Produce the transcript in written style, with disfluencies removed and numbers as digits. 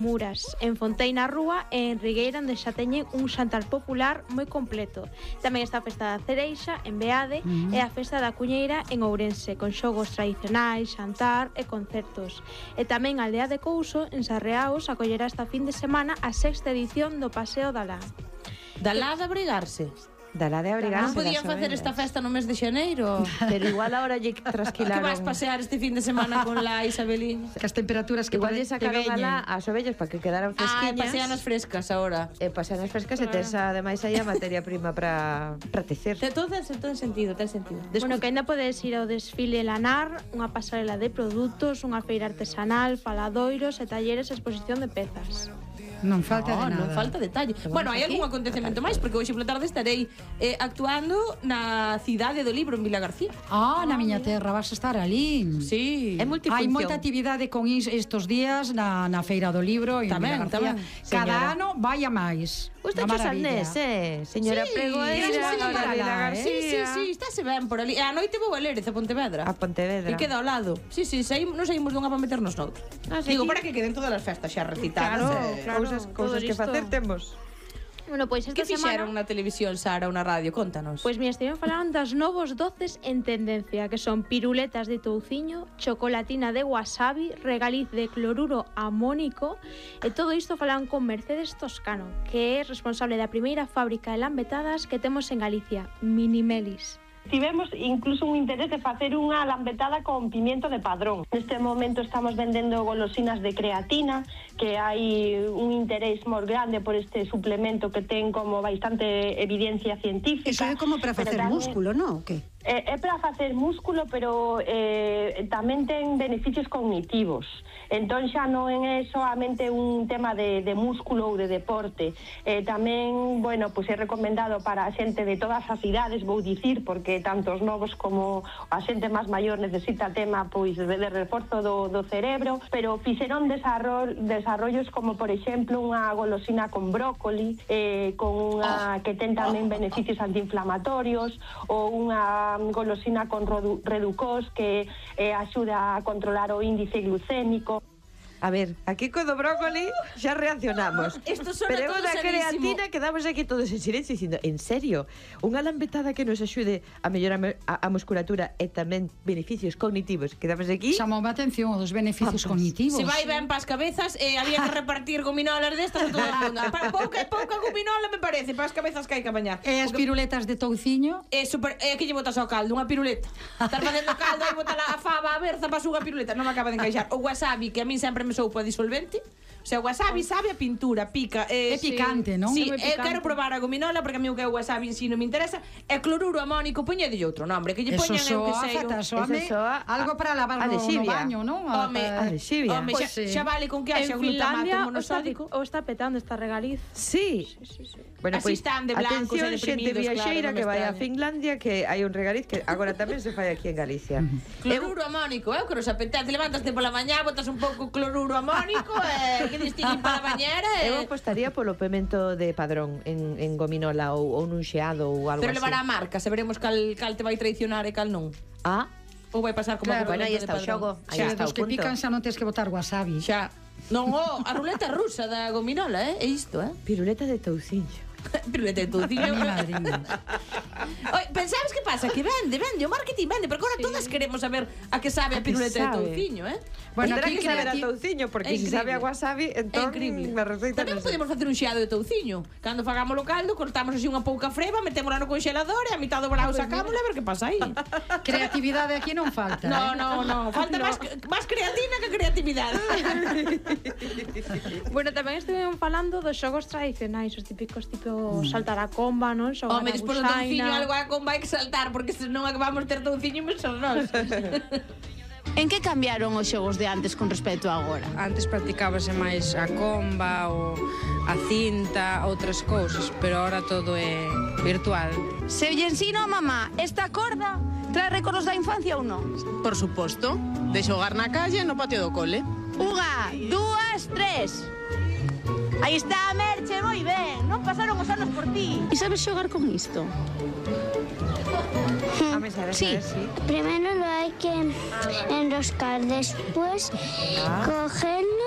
Muras, en Fontei na Rúa e en Rigueira, onde xa teñen un xantar popular moi completo. Tamén está a Festa da Cereixa en Beade e a Festa da Cuñeira en Ourense, con xogos tradicionais, xantar e concertos. E tamén a Aldea de Couso, en Sarreaos, acollerá esta fin de semana a 6ª edición do Paseo da Lá. Da Lá de abrigarse. Dará de abrigarse. Non podían facer esta festa no mes de xaneiro. Pero igual ahora lle trasquilaron. Que vas pasear este fin de semana con la Isabelín? Que as temperaturas que igual lle sacaron a la as ovellas para que quedaran fresquiñas. Pasean as frescas ahora. Pasean as frescas e tes ademais aí a materia prima para tecer. Todo ten sentido, ten sentido. Bueno, que ainda podes ir ao desfile lanar, unha pasarela de produtos, unha feira artesanal, faladoiros e talleres e exposición de pezas. Non falta de nada. Non falta detalle. Bueno, hai algún acontecemento máis, porque hoxe pola tarde estarei actuando na Cidade do Libro en Vila García. Na miña terra vas a estar ali. Sí. É multifunción. Hai moita actividade con estos días na Feira do Libro en Vila García. Cada ano vai a máis. Está cho Sandés, señora pregoeira da Vila García. Sí, estáse ben por ali. E a noite vou a Lérez, a Pontevedra. A Pontevedra. Que queda ao lado. Sí, non saímos dunha para meternos noutra. Digo, para que queden todas as festas xa recitadas. Claro. Cousas que facer temos. Bueno, pois esta que fixeron semana na televisión, Sara, ou na radio? Contanos. Pois mira, estiven falando das novos doces en tendencia, que son piruletas de touciño, chocolatina de wasabi, regaliz de cloruro amónico, e todo isto falaron con Mercedes Toscano, que é responsable da primeira fábrica de lambetadas que temos en Galicia, Minimelis. Tivemos incluso un interés de facer unha lambetada con pimiento de Padrón. Neste momento estamos vendendo golosinas de creatina, que hai un interés moi grande por este suplemento que ten como bastante evidencia científica. Iso é como para facer músculo, non? O que? É para facer músculo, pero tamén ten beneficios cognitivos. Entón xa non é solamente un tema de músculo ou de deporte. Tamén, bueno, pois é recomendado para a xente de todas as idades, vou dicir, porque tanto os novos como a xente máis maior necesita tema pois de reforzo do cerebro, pero fixeron desarrollos como, por exemplo, unha golosina con brócoli, con unha que ten tamén beneficios antiinflamatorios, ou unha golosina con reducós que axuda a controlar o índice glucémico. A ver, aquí co do brócoli xa reaccionamos. Pero todo da creatina quedamos aquí todos en silencio dicindo, en serio, unha lambetada que nos axude a mellorar a musculatura e tamén beneficios cognitivos. Quedamos aquí. Chamou a atención os beneficios cognitivos. Se vai ben pas cabezas, había que repartir gominolas destas a todo o mundo. Pouca gominola me parece, para as cabezas que hai que bañar. E as piruletas de touciño? Aquí lle botas ao caldo, unha piruleta. Estar facendo caldo e botar a fava a berza para unha piruleta, non me acaba de encaixar. O wasabi, que a min sempre me soupa disolvente. O sea, o wasabi sabe a pintura, pica. É picante, non? Sí, quero probar a gominola porque a mí o que é o wasabi en si non me interesa. É cloruro amónico, poñedelle outro nombre, que lle poñan eu que sei. Algo para lavar no baño, non? Adexivia. Home, xa vale con que haxa glutamato monosódico. Ou está petando esta regaliz. Sí. Bueno, pois atención, xente viaxeira que vai a Finlandia, que hai un regaliz que agora tamén se fai aquí en Galicia. Cloruro amónico, que nos apetece, levantaste pola mañá, botas un pouco cloruro amónico, que distinguen para a bañera. Eu apostaría polo pemento de Padrón en gominola ou nun xeado ou algo así. Pero levará a marca, saberemos cal te vai traicionar e cal non. Ou vai pasar como bueno, aí está o xogo. Aí está o punto. Os que pican xa non tens que botar wasabi. Xa. Non, a ruleta rusa da gominola, é isto, Piruleta de touciño. Piruleta de touciño. Pensabes que pasa? Que vende, o marketing vende, pero agora todas queremos saber a que sabe a piruleta de touciño, Bueno, tendrá que saber a touciño, porque se sabe a wasabi, entón a receita tamén podemos facer un xeado de touciño. Cando fagamos o caldo, cortamos así unha pouca freba, metémola no conxelador e a mitad do brao sacámola a ver que pasa aí. Creatividade aquí non falta. No, falta máis creatina que creatividade. Bueno, tamén estivemos falando dos xogos tradicionais, os típicos saltar a comba, non? Home, despois do touciño algo a comba hai que saltar, porque senón vamos ter touciño e son nós. En que cambiaron os xogos de antes con respecto a agora? Antes practicábase máis a comba ou a cinta, outras cousas, pero agora todo é virtual. Se lle ensino a mamá esta corda, trae recordos da infancia ou non? Por suposto, de xogar na calle no patio do cole. 1, 2, 3. Aí está a Merche, moi ben. Non pasaron os anos por ti. E sabes xogar con isto? Sí. Primero lo hay que enroscar, después cogerlo